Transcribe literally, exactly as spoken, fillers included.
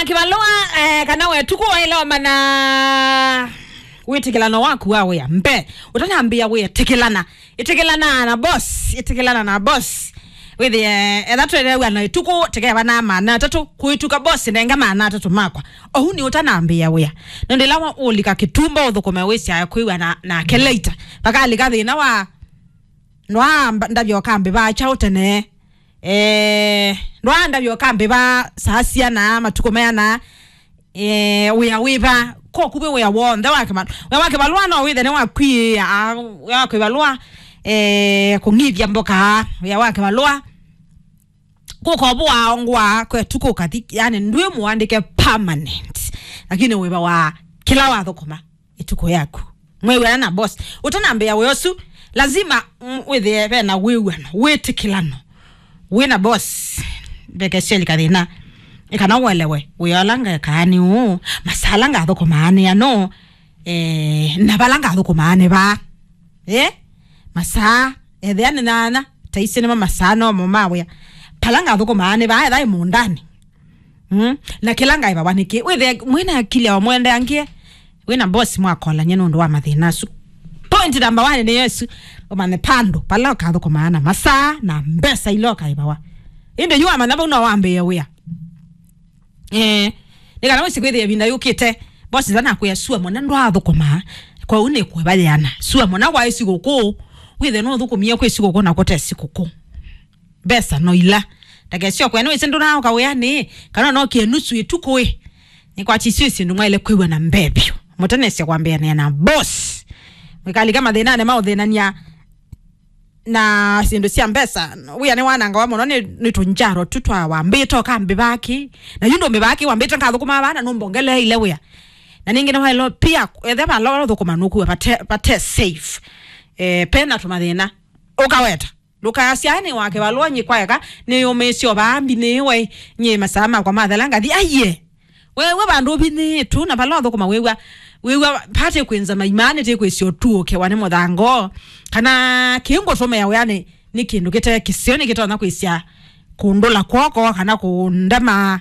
Kĩvalũa, eh, kana we tuku waĩle ũmanya wĩtĩkĩlano waku wa wĩa. Mbe, ũtanambĩĩa wĩa, tĩkĩlana. Ĩtĩkĩlana na boss, ĩtĩkĩlana na boss. Wĩthĩe, etha twĩlew'a na ĩtuku, tĩkeva na maana atatũ, kũĩtuka boss, nenga maana atatũ makwa. Ohu nĩ ũtanambĩĩa wĩa. Nũndũ ĩla wa-, ũlika kĩtumba ũthũkũme wĩsyae kwĩw'a na, nake later. Vakalika thĩna wa, ndwaa mba-, ndavya ũkambĩvaa kyaũ tene. Eh, ndwaa ndavya ũkambĩvaa saa siana, matukũ meana, eh, wĩa wĩva, kokuvĩ wĩa w'onthe wa kĩvalũa. Wĩa wa kĩvalũa no wĩthe nĩ wa kwĩĩa, wĩa wa kĩvalũa, eh, kũng'ithya mboka, wĩa wa kĩvalũa. Kũkovũa ngwa kwetu kũkathi, yani ndwĩ mũandĩke permanent. Lakini wĩva wa kĩla wathũkũma ĩtukũ yaku. Mwĩw'ana na boss. Ũtanambĩa wĩa ũsu, lazima, mm, wĩthĩe ve na wĩw'ano, wĩtĩkĩlano. Wĩ na boss, vekeseli kathĩna. Ĩ kana ũelewe, wĩa ũla ngekaa nĩ ũũ, masaa ala ngathũkũmaa nĩ ano, eh, na vala ngathũkũmaa nĩ vaa. Eh? Masaa, ethĩa nĩ nana, taisi nĩmo masaa nomo ma wĩa. Pala ngathũkũmaa nĩ vaa, etha ĩ mũũndanĩ. Mm? Na kĩla ngaĩvawa nĩkĩ? Wĩthĩe mwĩna akili ya ũmwendeangie, wĩna boss mwakolany'a nũndũ wa mathĩna asu. Point number one nĩ Yesu, ũmanye pandũ pala ũkathũkũmaa na masaa na mbesa ila ũkaĩvawa. Ĩndĩ yu wamanya vau no wambĩĩe wĩa. Eh, nĩ kana wĩsĩ kwĩthĩa ĩvinda yũkĩte, boss ĩla nakwĩa sua mwana ndwathũkũmaa, kwoou nĩ kũĩva yĩana. Sua mwana waĩ sikũkũ, wĩthĩe nũthũkũmie kwĩ sikũkũ na kũte sikũkũ. Mbesa no ila. Ndakesyo kwene wĩsĩ ndũnaoka wĩanĩ, kana nokie nusu ĩtukũ ĩ. Nĩkwatisyo syĩndũ mwaĩle kwĩw'a na mbee vyũ. Mũtanesya kwambĩanĩa na boss. Mwĩkalika mathĩnanĩ ma ũthĩnania na syĩndũ sya mbesa. Wĩa nĩ wanangawa mũno nĩ, nĩ tũnjaro tu twa wambĩte ũkambĩvaki. Na yu ndũmbĩvaa kĩ wambĩte ngathũkũma vana nũmbongeleeile wĩa. Na ningĩ nĩwaĩle pia ethe vala ũthũkũma nũkuwe vate, vate safe. Eh, pena tũmathĩna. Ũkaweta. Ndũkasyae nĩ wa kĩvalũa nyĩ kwaeka, nĩyũmĩĩsye o vaa mbinĩĩwe, nyĩ masaa makwa mathela ngathi, aiye. Wewe vandũ ũvinĩĩtu, na vala ũthũkũma wĩw'a, wĩw'a vate kwĩnza maimaa, nĩtĩ kwĩsya ũtuũkewa nĩ mũthango. Kana kĩngũtũmĩa wĩanĩ nĩ kĩndũ kĩte kĩseo, nĩkĩtonya kwĩsya kũndũla kw'oko, kana kũndema.